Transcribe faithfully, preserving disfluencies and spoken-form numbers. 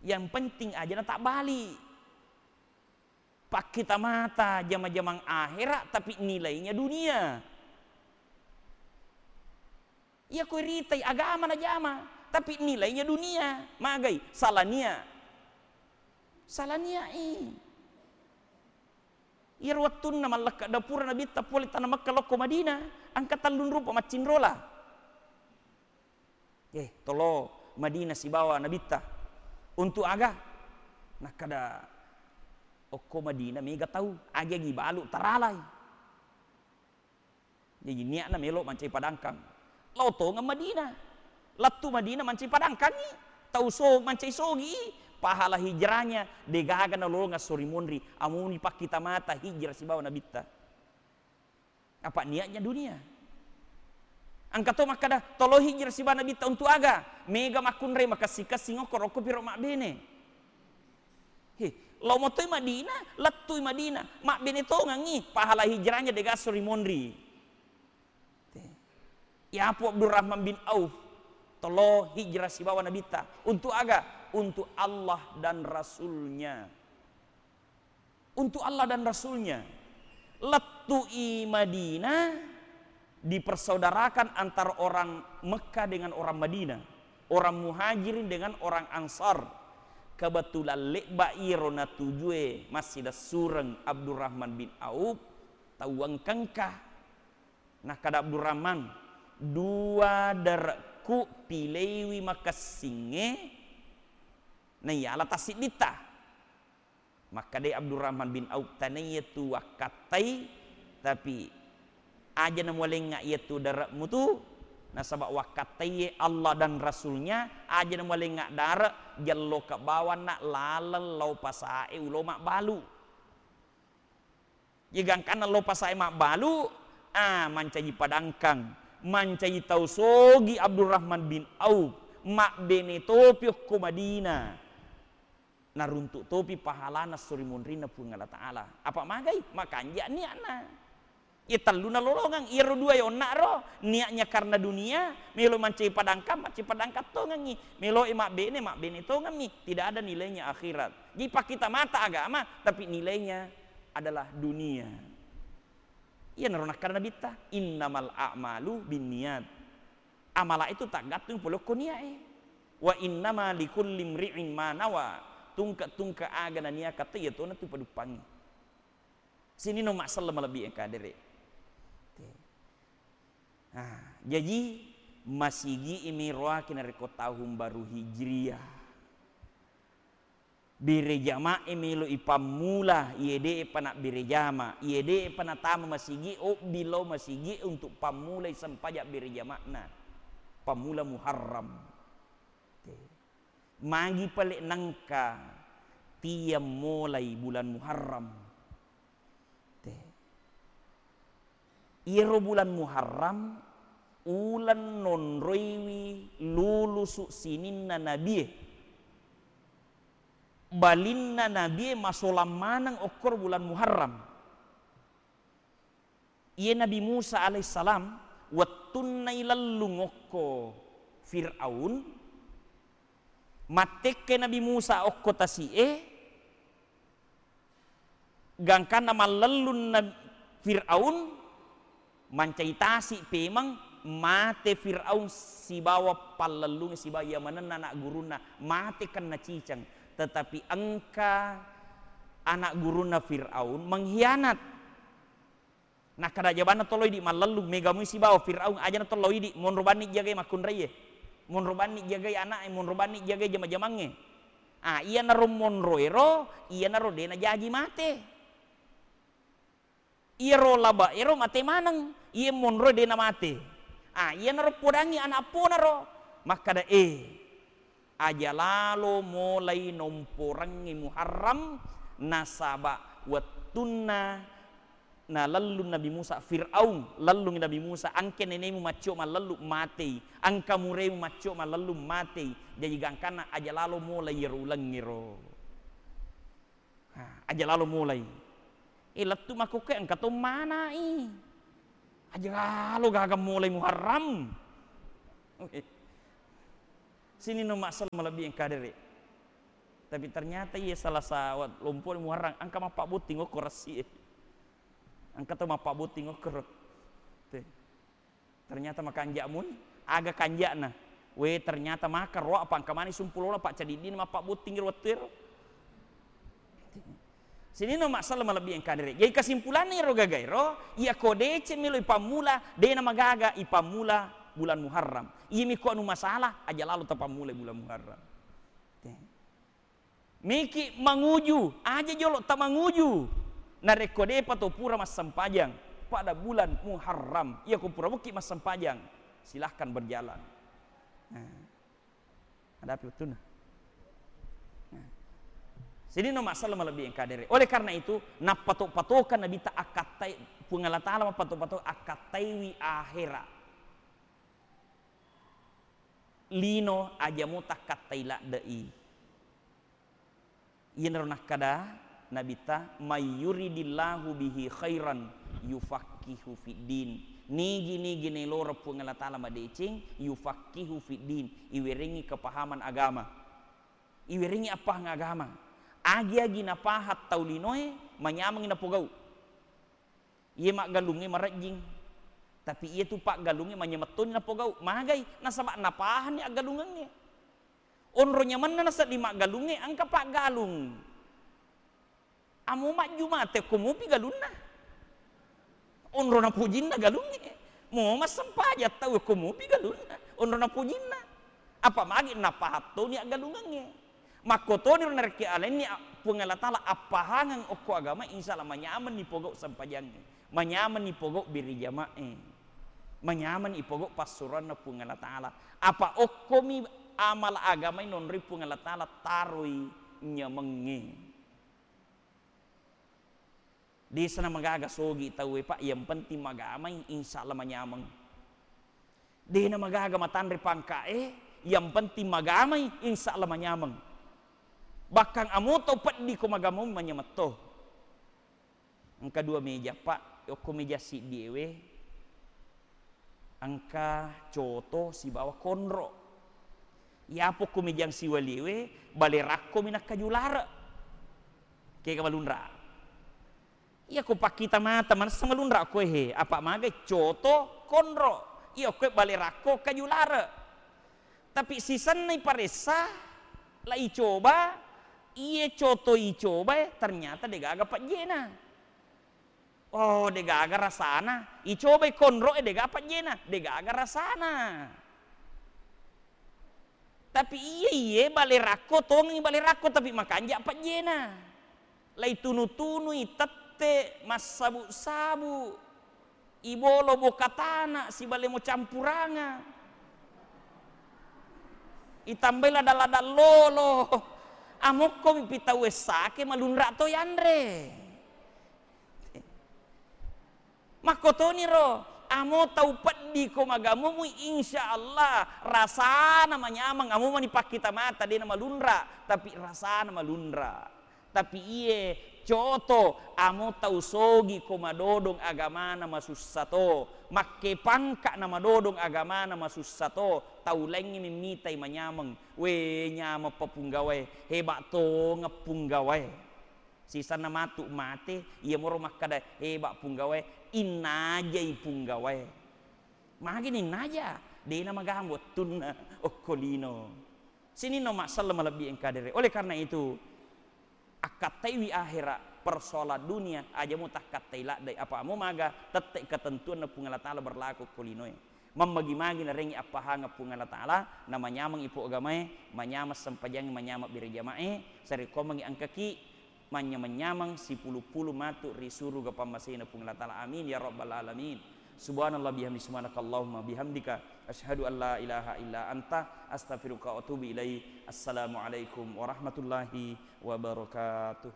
Yang penting aja na tabbali. Pakkita mata jama-jamang akhera, tapi nilainya dunia. Iya ko iritai agama na jama, tapi nilainya dunia. Magai? Salah nia. Salah nia i. Iyaro wettunna mallekka dapura Nabitta pole tana Mekka lokko Madinah, engka tellung rupa maccinrola. Eh, tolo Madinah sibawa Nabitta. Untuk aga? Nakkada, okko Madinah mega tau, agi-agi balu taralai. Jaji niatna melo mancai padangkang. Lao tongeng Madinah. Lettu Madinah mancai padangkangi. Tau so mancai sogi, pahala hijrahnya degaga nalolongeng esso ri monri. Amuni pakkita mata hijrah sibawa Nabitta. Apa niatnya dunia. Engka to makkada, tolo hijrah sibawa Nabitta untuk aga? Mega makkunrai makessing-kessing okko rokko piro mabbene. He, lao motoi Madinah, lettui Madinah, mabbene tongengi, pahala hijrahnya degasso ri monri. Te. Yapo Abdurrahman bin Auf, tolo hijrah sibawa Nabitta. Untuk aga? Untuk Allah dan Rasulnya. Untuk Allah dan Rasulnya. Lettui Madinah, dipersaudarakan antara orang Mekah dengan orang Madinah, orang Muhajirin dengan orang Ansar. Kebetulan lebba iro natujue massidassureng Abdurrahman bin Auf, tau engka-engka. Nakkada Abdurrahman, dua dare'ku pileiwi makessingnge naiyala tassidditta. Makkedai Abdurrahman bin Auf, tenaiya tu wakkattai, tapi aja namualengnga iyatu dare'mu tu, nasaba wakkattaiye Allah dan Rasulnya, aja namualengnga dare', jelloka bawanna laleng lao pasae ulo mabbalu. Ye gangkanna lao pasae mabbalu, ah, mancaji padangkang, mancaji tau sogi Abdurrahman bin Auf, mabbene topi okko Madinah. Naruntuk topi pahalana esso ri munrinna Puang Allah Ta'ala. Apa magai? Makanja niatna. Iya tellu nalolongeng, iyaro dua yonna'ro, niatnya karena dunia, melo mancaji padangkang, mancaji padangkang tongengi, meloe mabbene, mabbene tongemmi, tidak ada nilainya akhirat. Jadi pakkita mata agama, tapi nilainya adalah dunia. Iyanaro nakkada Nabitta, "Innamal a'malu binniyat." Amala itu taggattung pole okko niae. "Wa innama likulli imri'in ma nawa." Tungke-tungke aga naniakatto, iyatona tu paduppangi. Sininna masselleng malebbi engka dere. Oke. Nah, jaji masigi imi roaki narekko tahun baru Hijriah. Bere jama e melo ipammula, iye de pa nabbere jama, iye de pa natama masigi, obbi lao masigi untuk pammulai sempajang bere jama'na. Pammula Muharram. Te. Magi pale nengka tiang molai bulan Muharram. Te. Iyaro bulan Muharram, uleng nonroiwi lulusu sininna nabie. Balinna nabie masolang maneng okkoro bulan Muharram. Iye Nabi Musa alaihissalam, wettunna ilellung okko Fir'aun, mattekkai Nabi Musa okko tasi'e, gangkanna mallellunna Fir'aun, mancai tasi pemeng, mate Fir'aun sibawa pallellungnge sibawa iya manenna anak gurunna, mate kenna ciceng. Tetapi engka anak gurunna Fir'aun mengkhianat. Nakkada jabanna tollo idi mallellung, mega mui sibawa Fir'aun, ajana tollo idi, monro banni jagai makkunraie, monro banni jagai ana'e, monro banni jagai jama-jamangnge. Ah, iyanaro monroero, iyanaro de najaji mate. Iyaro labaero mate maneng, iye monroe de namate. Ah, iyanaro podangi ana' apponaro, makkada, eh, aja lalo molai nomporengngi Muharram, nasaba wettunna nalellung Nabi Musa, Fir'aun, lellungi Nabi Musa, engka nenemu maccio mallellu, matei, engka muremu maccio mallellu, matei, jaji gangkanna aja lalo molai iyaro ulengngero. Ha, aja lalo molai. Eh, lettu makkokkoe engka to manai. Aja lalo gaga molai Muharram. Sininna massala malebbi engka dere. Tapi ternyata iya salah sawat lompo Muharram, engka mappabbotting okko ressi e. Engka to mappabbotting okkoro. Te. Ternyata makanja mui, aga kanjana. We, ternyata maka roa apa engka mani sumpulola, paccadiddina mappabbotting ro wettu ero. Sininna massala malebbi engka dere. Jadi kesimpulanna ero gagaero, iya ko deceng melo ipammula, dena magaga ipammula bulan Muharram. Iya miko anu masalah, aja lalo tapammula bulan Muharram. Te. Miki manguju, aja jolo tamanguju. Narekko depa to pura massempajang pada bulan Muharram, iya ko pura mukki massempajang, silahkan berjalan. Nah. Adapi wettunna. Nah. Sininna massala malebbi engka dere. Oleh karena itu, nappato-patokan Nabitta akkattai, Puang Allah Taala mappato-pato akkattaiwi ahera. Lino aja mo takkattai ladde'i. Iyanaro nakkada Nabitta, "May yuridillahu bihi khairan yufaqihu fiddin." Nigi-nigi naeloreng Puang Allah Taala madeceng, yufaqihu fiddin, iwerengngi kepahaman agama. Iwerengngi appahang agama. Agi-agi napahang tau linoe, manyamengngi napogau. Iye maggalungnge marejjing, tapi iye tu paggalungnge manyamettoni napogau. Magai? Nasaba napahanni aggalungengnge. Onro nyamenna nasedding maggalungnge, engka paggalung. Amo majjumate ko mupi galunna. Onro napojinna galungnge. Mo massempajang tau ko mupi galunna. Onro napojinna. Apa magi napahattoni aggalungengnge. Makkotoniro narekki alenni a-, Puang Allah Taala appahangeng okko agama, insya Allah manyamenni pogau sempajangnge, manyamenni pogau biri jama'e, manyamenni pogau passuroanna Puang Allah Taala. Apa okkomi amal agamai nonroi Puang Allah Taala taroi nyamengnge. Desa namagaga sogi tauwe, Pak, yang penting magamai, insya Allah manyameng. Dena magaga matanre pangkae, yang penting magamai, insya Allah manyameng. Bahkan amo tau peddi ko magamau manyametto. Engka dua meja, Pak, okko meja siddiewe. Engka coto sibawa konro. Iyapo ko mejang siwaliewe, bale rakko mi nakkaju lare. Kega malunra. Iya ko pakkita mata manessa malunra ko he, apa magai coto konro. Iya ko bale rakko kaju lare. Tapi sisenna iparessa, la icoba, iye coto icobae, ternyata degaga pejjena. Oh, degaga rasana. Icobai konro e, dega pejjena, degaga rasana. Tapi iye, iye bale rakko, tongengi bale rakko, tapi makanja pejjena. Laitunu-tunui tette, massabu-sabu, ibolo boka tana, sibale mo campuranga. Itambai lada-lada lolo. Amokko mi pitau essake malunra to yanre. Makkotoniro, amo tau peddi ko magamumui, insya Allah rasana manyameng, amo mani pakkita mata, dena malunra, tapi rasana malunra. Tapi iye coto, amo tau sogi ko madodong agamana masussa to, makke pangka na madodong agamana masussa to, tau laingngi mimmitai manyameng, we nyameng pa punggawae, heba tongeng punggawae. Sisenna matu mate, iyamoro makkada, "Heba punggawae, innajai punggawae." Magi ninnaja, dena magamung wettunna okko lino. Sininna massala malebbi engka dere. Oleh karena itu, akkattaiwi ahera, persoalan dunia, aja mo takkattai laddai, apa mo maga, tette ketentuanna Puang Allah Taala berlaku okko linoe. Mammagi-magi narengngi appahangeng Puang Allah Taala, namanyameng ipo agamae, manyameng sempajangnge, manyameng bere jamae, sarekkoammengngi engkaki manyameng-nyameng sipulu-pulu matu ri suruga pammasena Puang Allah Taala. Amin ya rabbal alamin. Subhanallah bihamdi, subhanakallahumma bihamdika, asyhadu an la ilaha illa anta, astaghfiruka wa atubu ilaik. Assalamualaikum warahmatullahi wabarakatuh.